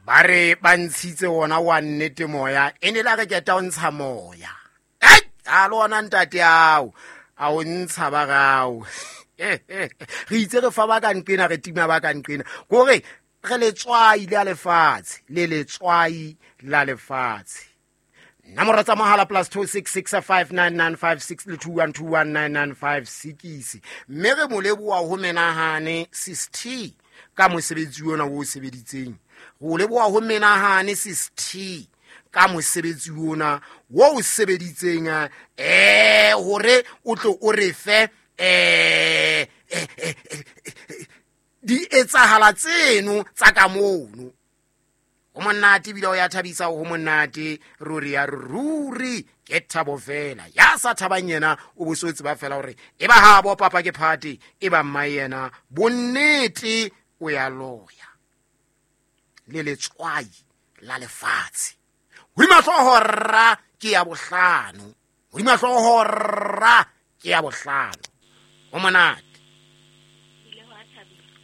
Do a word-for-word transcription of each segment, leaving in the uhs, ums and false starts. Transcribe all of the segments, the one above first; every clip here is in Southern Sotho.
Ba re ba ntshitse wona wa nnete moya e ne la re keta o ntsha moya. Ei, a le ona ntate ao a o ntsha ba gao. Re itse re fa ba ka nqena re tima ba ka nqena kore re letswai la lefatshe le letswai la lefatshe. Nomoro tsa mohala plus two six six five nine nine five six le two one two one nine nine five six. Mme re mo leboha ho menahane sis T ka mosebetsi ona o sebeditseng. Go leboha ho menahane sis T ka mosebetsi ona o sebeditseng eh hore o tlo o re fe eh di etsahala tseno tsa ka mono. Ho monate ebile o ya thabisa ho monate ruri ya ruri ke thabo fela. Ya sa thabang yena o bo so tseba fela hore e ba ha bo papa ke party e ba mma yena bonnete o ya loya le letswai la lefatshe. Hodima hlooho rra ke ya bohlano, hodima hlooho rra ke ya bohlano. Ho monate,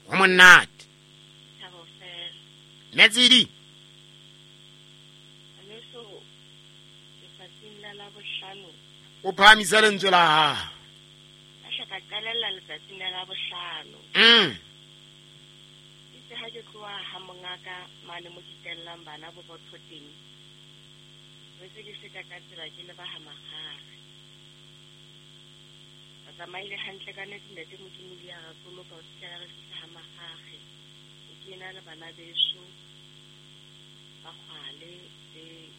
ho monate. Metsidi o phahamisa lentswe la hao. Ka hla ka qalella letsatsing la Labohlano. Mm. Itse ha ke tloha ha mongaka mane mo ke tellang bana borotho teng. Re se ke feta ka tsela ke leba ha Makgare. Ba tsamaile hantle ka nnete ntate Modimo le ya re boloka ho fihlela re fihla ha Makgare. Ke ena le bana beso ba kgwale le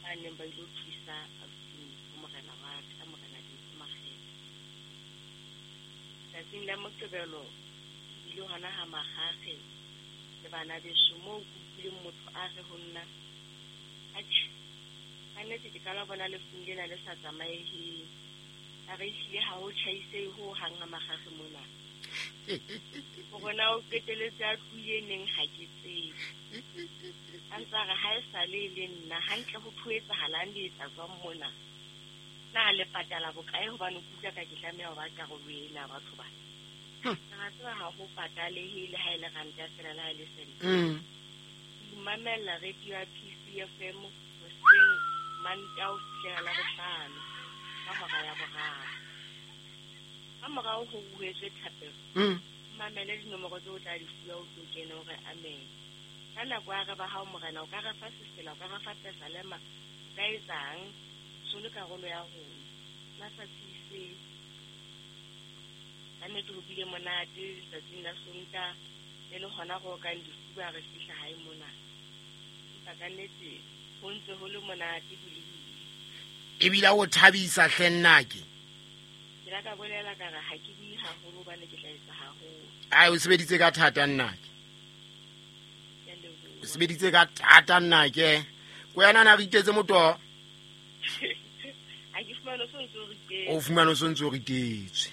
ba neng ba ilo thusa abuti morena wa ka morena Dintho Makgethe. Tsatsing la Moqebelo ile hona ha Makgakge le bana beso moo ke utlwileng motho a re ho nna, atjhe ka nnete ke qala bona lefung lena le sa tsamaeheng. A re ehlile ha ho tjhaisehe ho hang ha Makgakge mona. Hore na o qeteletse a tlohile neng ha ke tsebe. A ntse a re ha e sale e le nna hantle ho tho etsahalang le etsa jwang mona. Na le patala bokae hobane ke utlwa ka ke tlameha ho ba karolo ena batho ba. Ka tseba ha ho patalehe le ha e le ranta fela le ha e le sente. Ke mamela radio ya P C F M hoseng Mantaha ho fihlela Labohlano ka hora ya boraro. Ka morao ho buetswe thapelo. Mamele dinomoro tseo o tla di fuwa o tlo kena hore amen. Ka nako ya re ba hao morena o ka re fa sefela o ka re fa pesalema o ka etsang solo karolo ya rona. Na sa tsise ka nnete ho bile monate letsatsing la Sontaha e le hona go kang difuba re fihla hae mona. Empa ka nnete ho ntse ho le monate ho le bile. Ebile o thabisa hle nnake. Ke la ka bolela ka re ha ke bue haholo hobane ke tla etsa haholo. Ai o sebeditse ka thata nnake. O sebeditse ka thata nnake. Ko yena na re itetse motoho. Ha ke fumane o ntse o ritetse. O fumane o ntse o ritetswe.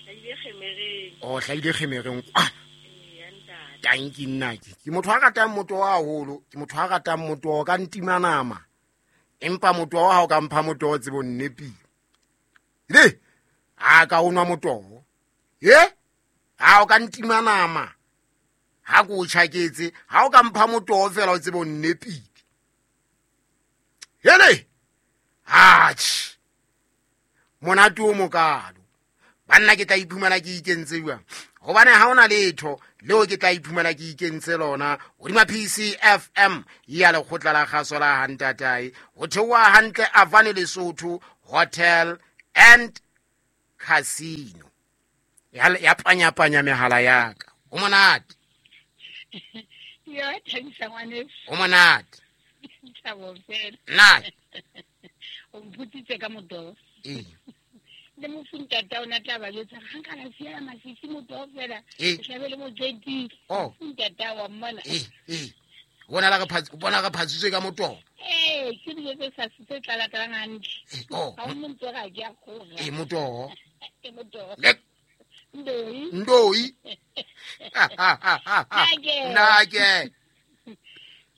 Hlahile kgemereng. O hlahile kgemereng kwa. Ee, ntate. Tanki nnake. Ke motho a ratang motoho haholo, ke motho a ratang motoho ka ntima nama. Empa motoho ha o ka mpha motoho tsebo nnepile. Le ha ka o nwa motoho. Ye? Ha o ka ntima nama. Ha ko o tjhaketse, ha o ka mpha motoho fela o tsebo nnepile. Hele! Atjhe. Monate o mokalo. Banna ke tla iphumana ke ikentse jwang? Hobane ha ona letho leo ke tla iphumana ke ikentse lona hodima P C F M ya lekgotla la kgaso la Hantatae ho theoha hantle Avane Lesotho Hotel and Casino. Ya ya panya panya mehala ya ka. Ho monate. Ya thabisa ngwaneso. Ho monate. Thabo fela. Nna. O mphutsitse ka motoho. Ee. Le mofuntata o na tla ba jwetsa ha nka la siya masisi motoho fela. Ee. Hlabe le mojedi. Oh. Mofuntata wa mmona. Ee, ee. Bona la re bona re phatsitswe ka motoho. Ee, ke dijo tse sa tse tlala-tlalang hantle. Oh. Ha o montse ga ke a kgora. Ee, motoho. Ee, motoho. Le Ndoi. Ndoi. Nake. Nake.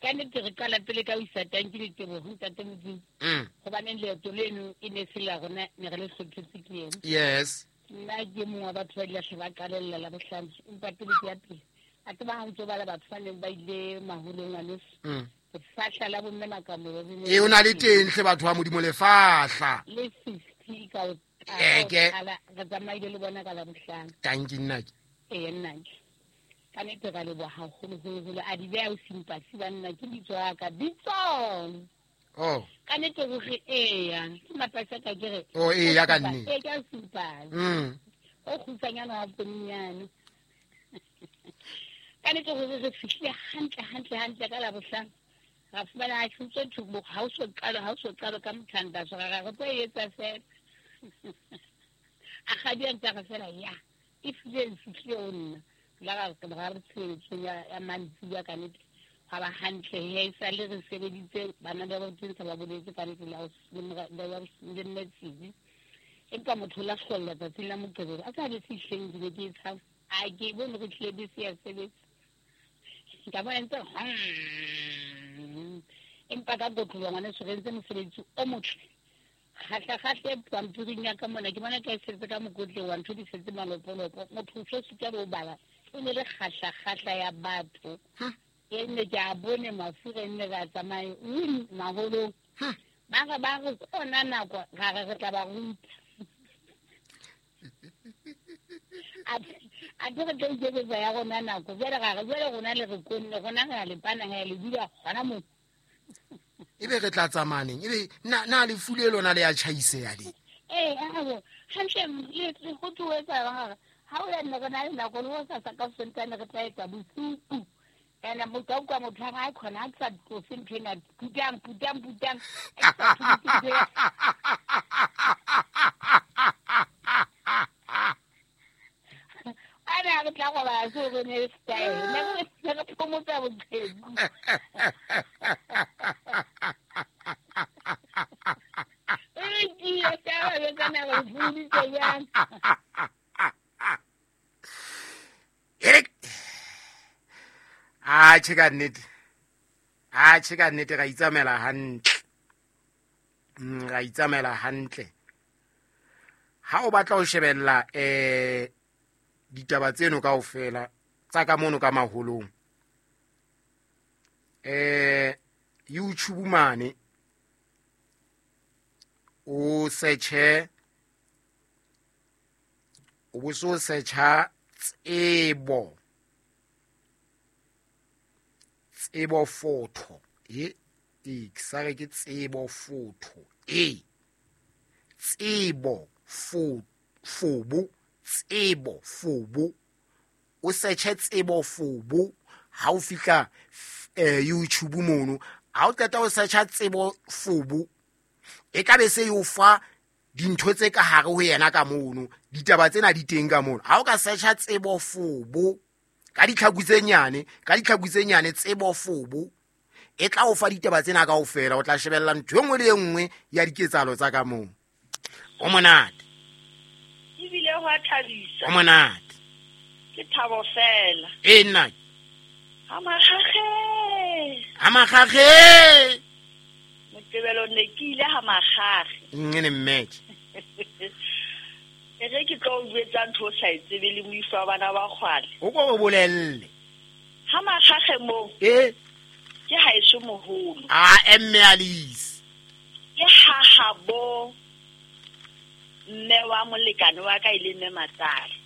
Ka nnete re qala pele ka ho isa tanki le teboho ntate Modimo. Mm. Hobaneng leeto leno e ne se la rona ne re le hlophetse ke yena. Yes. Nna ke mongwe wa batho ba ile hle ba qalella la bohlano empa pele ke ya pele. A tseba ha ntso bala batho ba neng ba ile maholong ngwaneso. Mm. Lefahla la bomme Makamolo le ne E o na le teng hle batho ba Modimo lefahla. Le fifty ka o Eh, ke. qala re tsamaile le bona ka la bohlano. Tanki nna ke. Ee nna ke. Ka nnete ra leboha haholoholo. A di beha o simpasi banna ke bitso ya ka. Bitsong. Oh. Ka nnete hore eya. Ke mapasi a ka ke re. Oh, eya ka nnete. Ee, ke a simpasi. Mm. O kgutshwanyane wa ponnyane. Ka nnete hore re fihlile hantle, hantle, hantle ka la bohlano. Ra fumana ha tshutse thubo, ha o so qalo, ha o so qalo ka mothandaso, ra re re tlo e etsa fela. A kgadi a ntse a re fela, ya, e fihlile, e fihlile ho nna. La ra re ra re tshebeletsong ya, ya mantsibuya ka nnete. Hwa ba hantle he, e sale re sebeditse, bana ba ba teng ba boletse ka nnete la ho s-, le mora-, le ya ho le mme Tsibi. Empa motho o la hlolla tsatsing la Moqebelo. A sa bese hleng ke ne ke e tshaba. A ke bone re tlile bese ya sebetsa. Ka bona ntse, hmm. Empa ka kotloloha ngwaneso re entse mosebetsi o motle. Kgahla, kgahla e pampiring ya ka mona, ke bona ka e setse ka mokotleng wa ntho di setse malopolopo. Motho o so sitwa le ho bala. E ne le kgahla, kgahla ya batho. Hm. E ne ke a bone mafu re nne ra tsamaye, win, maholong. Hm. Ba re, ba re, ke ona nako, ra re re tla ba ruta. A, a ke re tlo iketsetsa ya rona nako. Jwale ra re, jwale rona le re konne, rona re a le pana, re a le dula hona moo. Ebe re tla tsamaya neng? Ebe na, na lefu le lona le ya tjhaiseha le? Ee, abo, hantle, le, le ho tlo etsa jwang hore ha o ya nne re na le nako, le hosasa ka Sontaha re tla etsa bosiu. Ene motho a utlwa motho a re, ha khona, ha ke sa tlose ntho ena, putang, putang, putang. Ha ke sa tlose ntho ena. A ne a re tla robala seo re ne style. Ne re, ne re phomotsa boqheku. E tiye, ka ba jwetsa na re phomoditse jwang. Eric. A tjhe ka nnete. A tjhe ka nnete ra itsamaela hantle. Mm, ra itsamaela hantle. Ha o batla ho shebella, eh, ditaba tseno kaofela tsa ka mono ka maholong. Eh, YouTube mane o search-e, o bo so search-a tsebo. Tsebo photo. E, e, ke sa re ke tsebo photo. E, tsebo fo-, fobo, tsebo fobo. O search-e tsebo fobo ha o fihla, eh, YouTube mono. Ha o qeta ho search-a tsebo fobo, e tla be se e o fa dintho tse ka hare ho yena ka mono. Ditaba tsena di teng ka mono. Ha o ka search-a tsebo fobo ka ditlhaku tse nyane, ka ditlhaku tse nyane tsebo fobo, e tla o fa ditaba tsena kaofela. O tla shebella ntho e nngwe le e nngwe ya diketsahalo tsa ka moo. O monate. Ebile ho a thabisa. O monate. Ke thabo fela. E nna. Ha makgakge. Ha makgakge. Moqebelo ne ke ile ha makgakge. Nngene mmetjhe. E re ke tlo o jwetsa ntho o sa e tsebe le moifo wa bana ba kgwale. O ko o bolelle. Ha makgakge moo. E. Ke haeso moholo. A emme Alice. Ke hahabo mme wa molekane wa ka e le mme Matsale.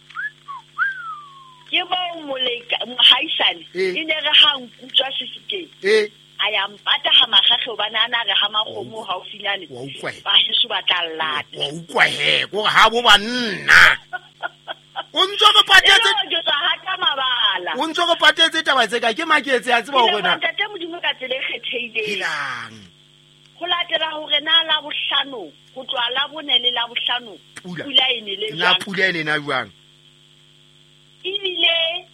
Ke bo moleka-, mohaisane, E. e ne re ha nkutswa sefikeng. E. A ya mpata ha makgakge hobane a na re ha makgomo haufinyane. Wa utlwa he. Ba heso ba tla llata. Wa utlwa he, kore ha bo banna. O ntso re patetse E le hore ke tswa hata mabala. O ntso re patetse taba tse ka ke maketse a tseba hore na. Ke leboha Ntate Modimo ka tsela e kgethehileng. Helang. Ho latela hore na la bohlano, ho tloha la bone le la bohlano, Pula. pula e nele Na jwang? pula e nena jwang? Ebile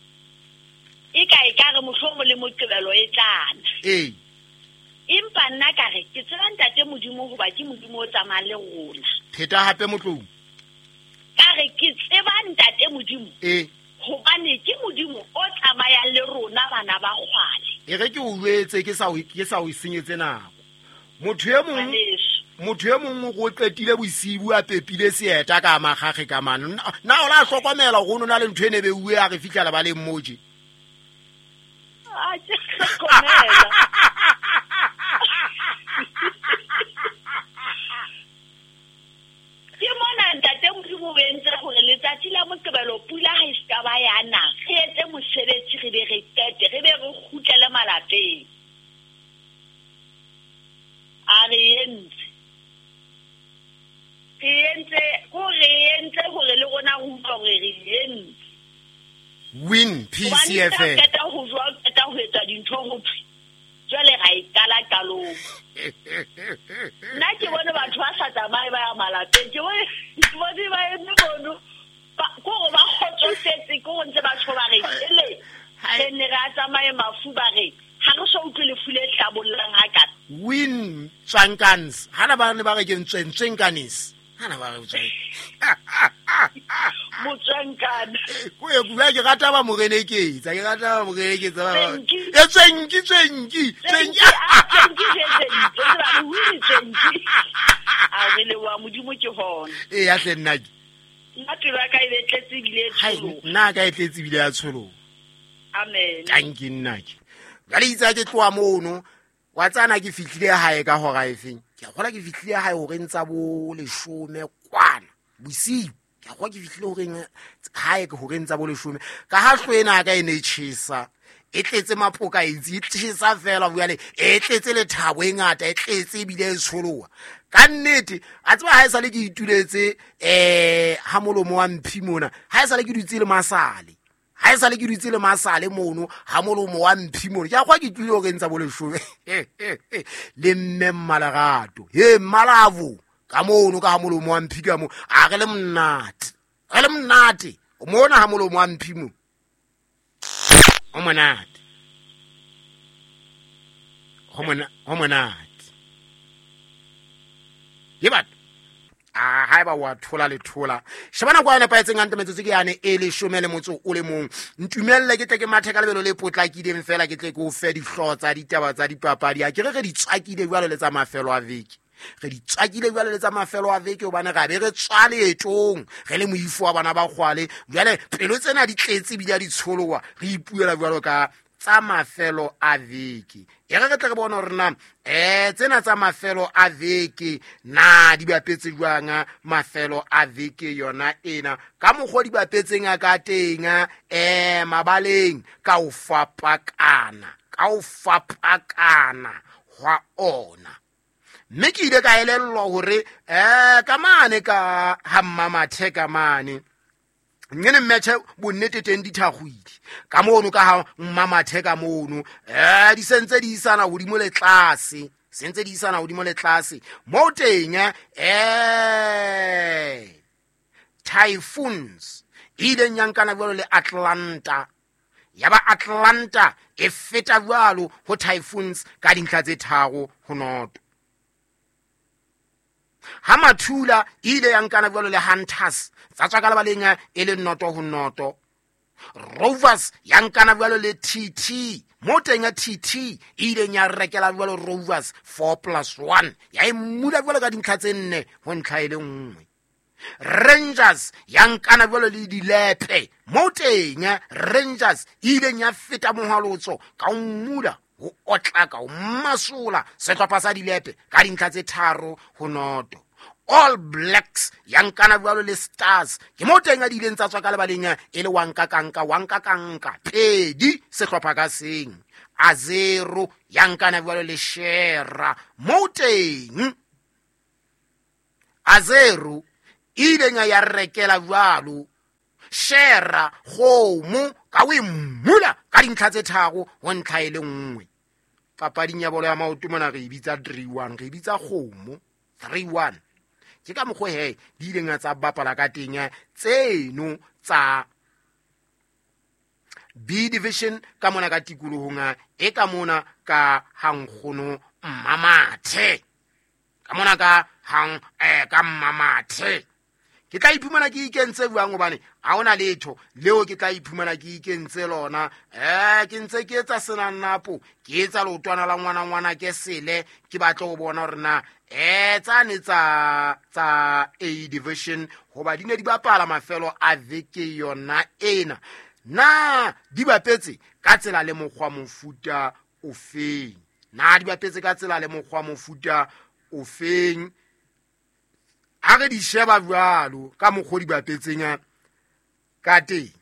e ka e ka re mohlomong le Moqebelo e tlana. Ee. Empa nna ka re ke tseba Ntate Modimo hoba ke Modimo o tsamayang le rona. Pheta hape motlong. Ka re ke tseba Ntate Modimo. Ee. Hobane ke Modimo o tsamayang le rona bana ba kgwale. E re ke o jwetse ke sa o ke sa o senyetse nako. Motho e mong motho e mong o qetile bosibu a pepile seeta ka makgakge ka mane. Na o la hlokomela hore o na le ntho e ne be uwe a re fihla ba le mmoje. A ke hlokomela. Ke mona ntate Modimo o entse hore letsatsi la Moqebelo pula ha e ska ba ya na. Re etse mosebetsi re be re qete, re be re kgutlele malapeng. A re entse. Re entse, ko re entse hore le rona re utlwe hore re entse. Win P C F M. Hobane qeta ho jwa, qeta ho etsa dintho ho thwe. Jwale ra e qala qalong. Nna ke bone batho ba sa tsamaye ba ya malapeng. Ke bone ke bone ba eme mono. Ko hore ba kgotsofetse, ke hore ntse batho ba re ele. Re ne re a tsamaye mafu ba re ha re so utlwe lefu le hlabollang hakana. Win Tswankans. Hana ba ne ba re ke ntswe Ntswenkanis. Hana ba re tswe. Motswankana. Ko e bua ke rata ba moreneketsa, ke rata ba moreneketsa ba. E tswenki tswenki tswenki. Tswenki tswenki ba re win tswenki. A re le wa Modimo ke hona. E ya hle nna ke. Nna pelo ya ka e tletse ebile e tsholoha. Nna ka e tletse ebile ya tsholoha. Amen. Thank you nna ke. Jwale itse ke tloha mono wa tsana ke fihlile hae ka hora efeng. Ke a kgola ke fihlile hae horeng tsa bo leshome kwana bosiu. Ke a kgola ke fihlile horeng hae ke horeng tsa bo leshome. Ka ha hlo ena ka e ne tjhesa. E tletse mapoka itse e tjhesa fela jwale e tletse lethabo e ngata e tletse ebile e tsholoha. Ka nnete a tseba ha e sale ke ituletse eh ha molomo wa mphi mona ha e sale ke dutse le masale. Ha e sale ke dutse le masale mono ha molomo wa mphi mono. Ke a kwa ke tlile hore ntsa bo leshome. Le mme Mmalerato. He Mmalavo ka mono ka ha molomo wa mphi ka mo. A re le monate. Re le monate. Mona ha molomo wa mphi mo. O monate. Ho mona ho monate. Ye batho. Ah haeba wa thola le thola. Shebana kwa nepahetseng hantle metsotso ke yane e leshome le motso o le mong. Ntumelle ke tle ke mathe ka lebelo le potlakileng fela ke tle ke o fe dihlooho tsa ditaba tsa dipapadi. A ke re re di tswakile jwalo le tsa mafelo a veke. Re di tswakile jwalo le tsa mafelo a veke hobane ra be re tswa leetong re le moifo wa bana ba kgwale. Jwale pelo tsena di tletse ebile di tsholoha re ipuela jwalo ka tsa mafelo a veke. E re re tle re bone hore na eh tsena tsa mafelo a veke na di bapetse jwang mafelo a veke yona ena ka mokgwa di bapetseng a ka teng eh mabaleng ka o fapakana ka o fapakana hwa ona. Mme ke ile ka elellwa hore eh ka mane ka ha Mmamathe ka mane ngene mmethe bonnete teng di thakgwile ka mono ka ha Mmamathe ka mono eh di sentse di isana hodimo le tlase sentse di isana hodimo le tlase mo teng eh Typhoons ile nyankana jwalo le Atlanta ya ba Atlanta e feta jwalo ho Typhoons ka dintlha tse tharo ho noto. Ha Mathula ile ya nkana jwalo le Hunters tsa tswa ka lebaleng e le noto ho noto. Rovers ya nkana jwalo le T T mo teng ya T T ile ya rekela jwalo Rovers four plus one ya e mmula jwalo ka dintlha tse nne ho ntlha e le nngwe. Rangers ya nkana jwalo le Dilepe mo teng Rangers ile ya feta mohwalotso ka mmula ho otlaka ho masola sehlopha sa Dilepe ka dintlha tse tharo ho noto. All Blacks ya nkana jwalo le Stars ke mo teng a di ileng tsa tswa ka lebaleng e le wanka kanka wanka kanka pedi sehlopha ka seng. A zero ya nkana jwalo le Shera mo teng a zero ile ya rekela jwalo Shera kgomo ka o mmula ka dintlha tse tharo ho ntlha e le nngwe. Papading ya bolo ya maoto mona re e bitsa three one, re e bitsa kgomo three one. Ke ka mokgwa he di ileng tsa bapala ka teng tseno tsa B division ka mona ka tikolohong e ka mona ka hankgono Mmamathe ka mona ka hang eh ka Mmamathe. Ke tla iphumana ke ikentse jwang hobane ha hona letho leo ke tla iphumana ke ikentse lona. Eh ke ntse ke etsa senanapo, ke etsa leotwana la ngwana ngwana ke sele, ke batla ho bona hore na eh tsane tsa tsa A division hoba di ne di bapala mafelo a veke yona ena. Na di bapetse ka tsela le mokgwa mofuta ofeng? Na di bapetse ka tsela le mokgwa mofuta ofeng? A re di sheba jwalo ka mokgwa di bapetseng ka teng,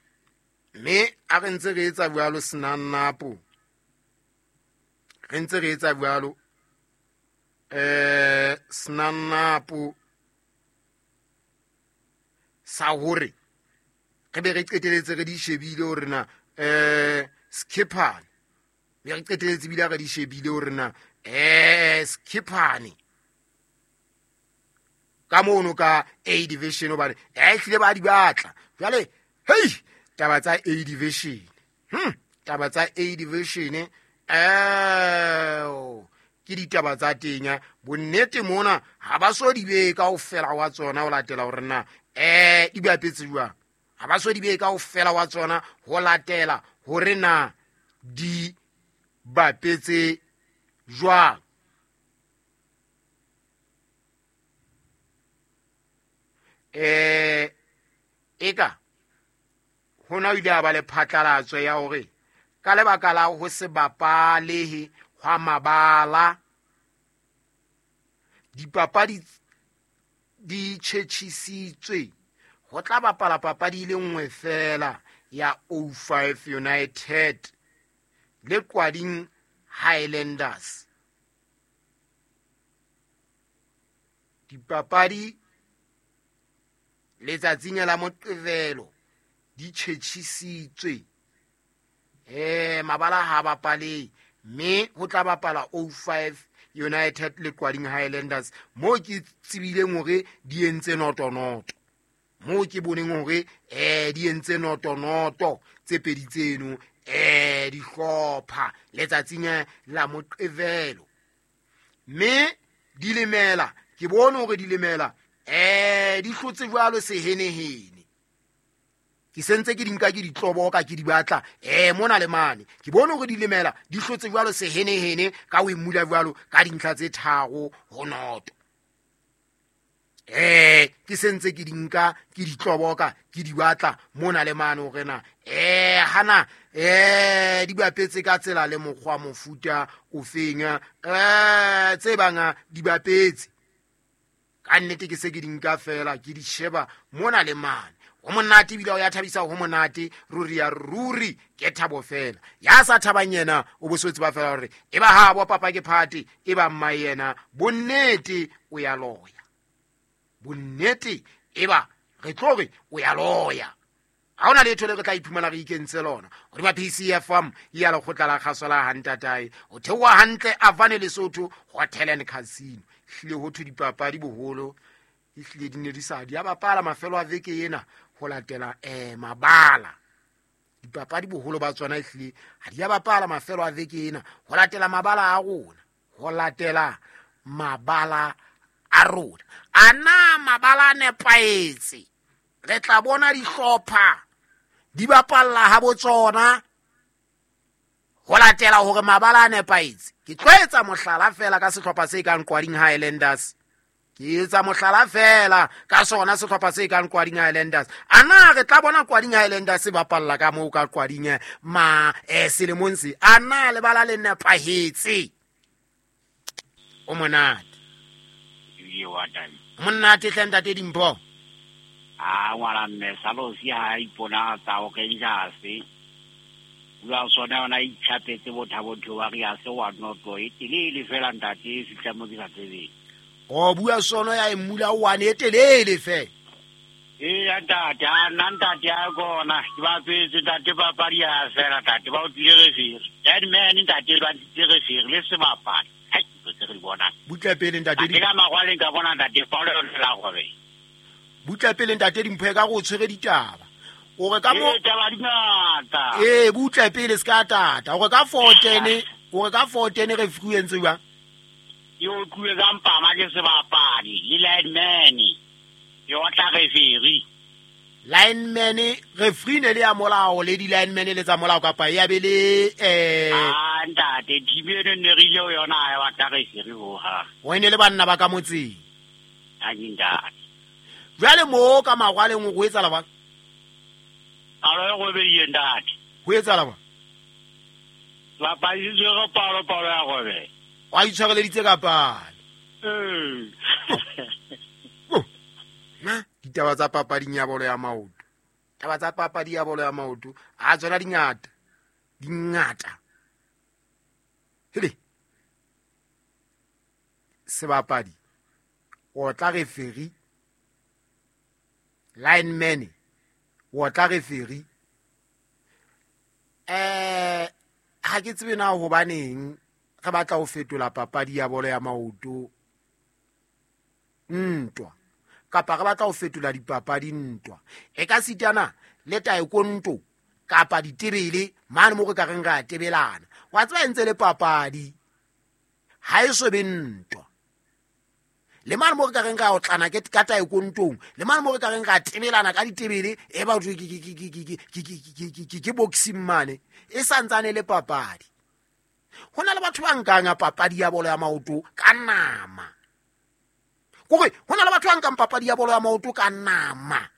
mme a re ntse re etsa jwalo senanapo, re ntse re etsa jwalo eh senanapo sa hore re be re qeteletse re di shebile hore na eh skippane, be re qeteletse bile re di shebile hore na eh skippane ka mono ka A division hobane eh hlile ba di batla. Jwale hei taba tsa A division, hm taba tsa A division eh ke ditaba tsa tenya bonnete mona ha ba so di be kaofela wa tsona ho latela hore na eh di bapetse jwang. Ha ba so di be kaofela wa tsona ho latela hore na di bapetse jwang. Eh eka hona o ile a ba le phatlalatso ya hore ka lebaka la ho se bapalehe hwa mabala dipapadi di tjhetjhisitswe, ho tla bapala papadi le nngwe fela ya oh five United le Kwading Highlanders. Dipapadi letsatsing la Moqebelo di tjhetjhisitswe, eh mabala ha bapale, mme ho tla bapala oh five United le Kwading Highlanders mo ke tsebileng hore di entse noto-noto, mo ke boneng hore eh di entse noto-noto tse pedi tseno eh dihlopha letsatsing la Moqebelo, mme di lemela ke bone hore di lemela eh di hlotse jwalo sehenehene. Ke sentse ke di nka ke di tloboka ke di batla eh mona le mane, ke bone hore di lemela di hlotse jwalo sehenehene ka o emula jwalo ka dintlha tse tharo ho noto. Eh ke sentse ke di nka ke di tloboka ke di batla mona le mane hore na eh hana eh di bapetse ka tsela le mokgwa mofuta ofeng, eh tse banga di bapetse ka nnete ke se ke di nka fela ke di sheba mona le mane. Ho monate ebile o ya thabisa, ho monate ruri ya ruri ke thabo fela. Ya sa thabang yena o bosotse ba fela hore e ba ha bo papa ke phate e ba mma yena bonnete o ya loya, bonnete e ba re tlo re o ya loya. Ha hona letho le re tla iphumana re ikentse lona. Hore ba P C F M ya lekgotla la kgaso la hantatae o theoha hantle Avane Lesotho Hotel and Casino. Hlile ho thwe dipapadi boholo e hlile di ne di sa di a bapala mafelo a veke ena ho latela eh mabala. Dipapadi boholo ba tsona e hlile ha di a bapala mafelo a veke ena ho latela mabala a rona, ho latela mabala a rona. Ana mabala a nepahetse, re tla bona dihlopha di bapalla ha botsona ho latela hore mabala a nepahetse. Ke tlo etsa mohlala fela ka sehlopha se kang Kwading Highlanders, ke etsa mohlala fela ka sona sehlopha se kang Kwading Highlanders. Ana re tla bona Kwading Highlanders se bapalla ka moo ka Kwading ma eh selemong se, ana lebala le nepahetse. O monate monate hle ntate Dimpho. A ngwana mme salosi ha ipona tsa o kenjase bua sona ona itjhapetse bothabo wa re a se wa noto e telele fela ntate e fihla mo ke sa tsebeng. O bua sono ya emula wa ne telele fe. E ntate a nna ntate a kona ke ba tswetse ntate papadi ya fela ntate ba o tlile re fere. Dead man ntate ba tlile re fere le sebapadi. Hai tse re di bonang. Butla pele ntate di. Ke ka magwaleng ka bona ntate Paulo la gore. Butla pele ntate Dimpho e ka go tshwere ditaba. O re ka mo ditaba di ngata. Eh butla pele ska tata. O re ka four ten, o re ka four ten re frequency jwang? Yo tluwe ka mpama ke sebapadi le lineman. Ke otla referee. Lineman referee ne le ya molao le di lineman le tsa molao kapa ya be le eh ah ntate team eno ne re ile ho yona ha ya batla referee ho ha. O ene le banna ba ka motseng. Ha ke ntate. Jwale mo ka magwaleng go etsala ba? Alo e robehile ntate. Ho etsala ba? Bapadi tshwere palo palo ya robeha. Wa itshwareleditse ka palo. Ee. Na ditaba tsa papading ya bolo ya maoto. Taba tsa papadi ya bolo ya maoto a tsona dingata. Dingata. Hele. Sebapadi o tla referee. Lineman o tla referee. Eh ha ke tsebe na hobaneng re batla ho fetola papadi ya bolo ya maoto ntwa kapa re batla ho fetola dipapadi ntwa e ka sitana le taekwondo kapa ditebele mane mo re ka reng ra tebelana wa tseba ntse le papadi ha e so be ntwa le mane mo re ka reng ra otlana ke ka taekwondong le mane mo re ka reng ra tebelana ka ditebele e ba ke ke ke ke ke ke boxing mane e santsane le papadi. Ho na le batho ba nkang papadi ya bolo ya maoto ka nama. Kore ho na le batho ba nkang papadi ya bolo ya maoto ka nama.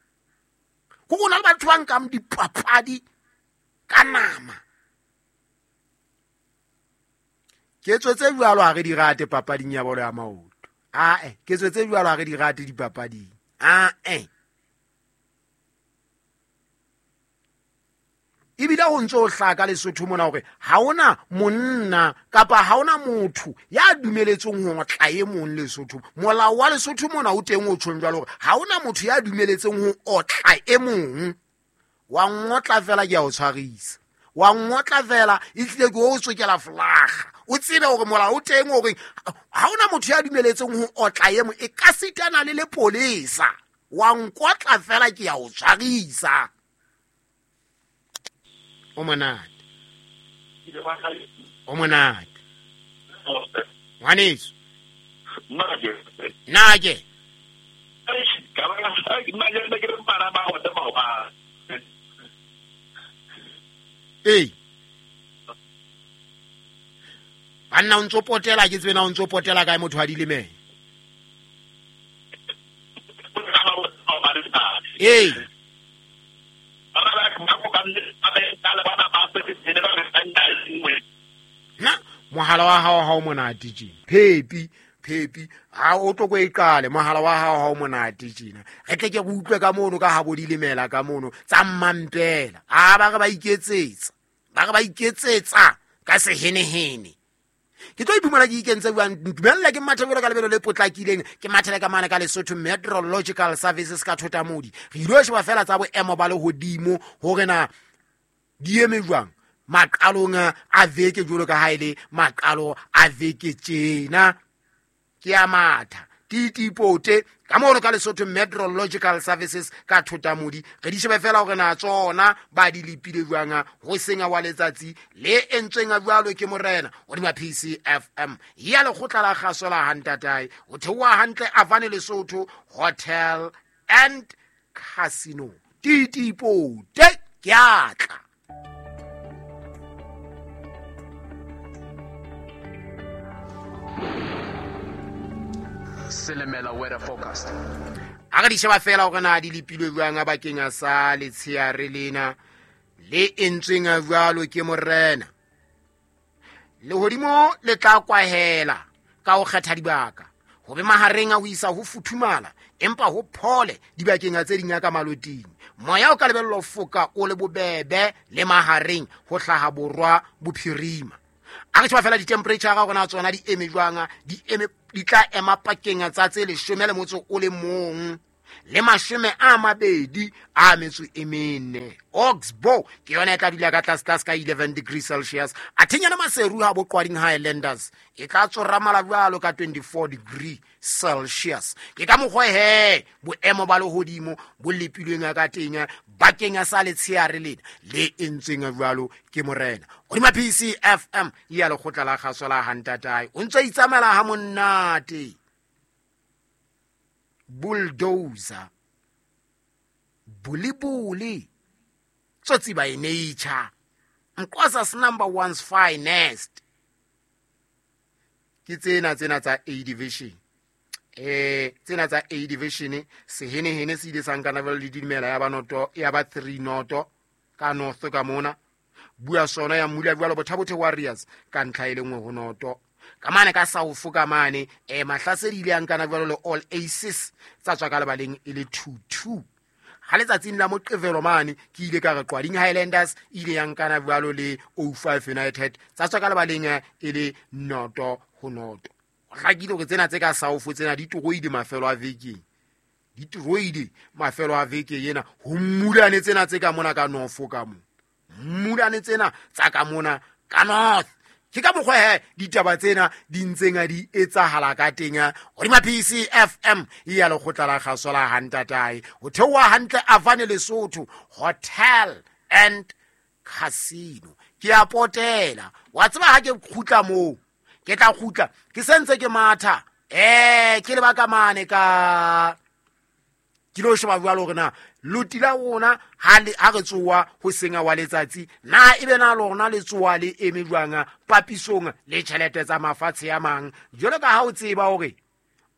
Kore ho na le batho ba nkang dipapadi ka nama. Ke tswetse jwalo ha re di rate papading ya bolo ya maoto. Ah eh ke tswetse jwalo ha re di rate dipapading. Ah eh. Ebile ho ntso hlaka Lesotho mona hore ha ona monna kapa ha ona motho ya dumeletseng ho otla e mong Lesotho. Molao wa Lesotho mona o teng o tjhong jwalo hore ha ona motho ya dumeletseng ho otla e mong. Wa ngotla fela ke ya o tshwarisa. Wa ngotla fela e tlile ke o tsokela flaga. O tsebe hore molao o teng hore ha ona motho ya dumeletseng ho otla e mong e ka sitana le lepolesa. Wa nkotla fela ke ya o tshwarisa. O monate. O monate. Ngwaneso. Nna ke. Ee. Banna o ntso potela ke tsebe na o ntso potela kae motho a dilemeng. Ee. Na mohala wa hao ha o monate tjena. Phepi phepi ha o tlo ko e qale mohala wa hao ha o monate tjena. Re tle ke re utlwe ka mono ka ha bo dilemela ka mono tsa mmampela. A ba re ba iketsetsa. Ba re ba iketsetsa ka sehenehene. Ke tlo iphumana ke ikentse buang dumella ke mathebelo ka lebelo le potlakileng ke mathele ka mane ka Lesotho Meteorological Services ka Thotamodi. Re ile sheba fela tsa boemo ba lehodimo hore na di eme jwang maqalong a veke jwalo ka ha ile maqalo a veke tjena. Ke a matha titipote ka mono ka Lesotho Meteorological Services ka Thotamodi. Re di shebe fela hore na tsona ba di lepile jwang ho senga wa letsatsi le entsweng jwalo ke morena hodima P C F M ya lekgotla la kgaso la Hantatae o theoha hantle Avane Lesotho Hotel and Casino. Titipote ke a tla. Selemela weather forecast. A re di sheba fela hore na di lepilwe jwang bakeng sa letsheare lena le entsweng jwalo ke morena. Lehodimo le tla kwahela ka ho kgetha dibaka. Ho be mahareng a ho isa ho futhumala empa ho phole dibakeng tse ding ka maloting. Moya o ka lebellwa ho foka o le bobebe le mahareng ho hlaha borwa bophirima. A re sheba fela di-temperature ga gona tsona di eme jwang di eme di tla ema pakeng tsa tse leshome le motso o le mong le mashome a mabedi a metso e mene. Oxbow ke yona e tla dula ka tlase tlase ka eleven degrees Celsius. Athenyana Maseru ha boqwading Highlanders e tla tsoramala jwalo ka twenty-four degree Celsius. Ke ka mokgwa he boemo ba lehodimo bo lepilweng ka teng bakeng sa letsheare lena le entsweng jwalo ke morena. Hodima P C F M ya lekgotla la kgaso la Hantatae o ntse itsamela ha monate. Bulldozer Bulibuli Tsotsi by nature, Nqwasa's number one's finest. Ke tsena tsena tsa A division. Eh tsena tsa A division sehenehene se ile sa nkana le dimela ya ba noto ya ba three noto ka north ka mona. Bua sona ya mmula jwalo Bothabothe Warriors ka ntlha e le nngwe ho noto. Ka mane ka South ka mane eh Mahlasedi ile ya nkana jwalo le All Aces tsa tswa ka lebaleng e le two two. Ha letsatsing la Moqebelo mane ke ile ka re Qwading Highlanders ile ya nkana jwalo le O five United tsa tswa ka lebaleng e le noto ho noto. Ho hlakile hore tsena tse ka South tsena di toroile mafelo a vekeng. Di toroile mafelo a veke ena ho mmulane tsena tse ka mona ka North ka mo. Mmulane tsena tsa ka mona ka North. Ke ka mokgwa he ditaba tsena di ntseng a di etsahala ka teng hodima P C F M ya lekgotla la kgaso la Hantatae. Ho theoha hantle Avane Lesotho Hotel and Casino. Ke a potela. Wa tseba ha ke kgutla moo, ke tla kgutla ke sentse ke matha. Eh ke lebaka mane ka ke lo sheba jwalo hore na loti la rona ha le ha re tsoa ho senga wa letsatsi na ebe na lona le tsoa le eme jwang papisong le tjhelete tsa mafatshe a mang. Jwalo ka ha o tseba hore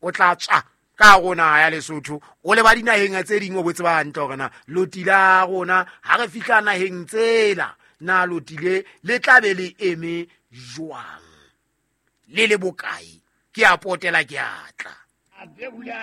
o tla tswa ka rona ya Lesotho o le ba dinaheng tse ding o bo tseba hantle hore na loti la rona ha re fihla naheng tsela na loti le le tla be le eme jwang le le bokae. Ke a potela ke a tla.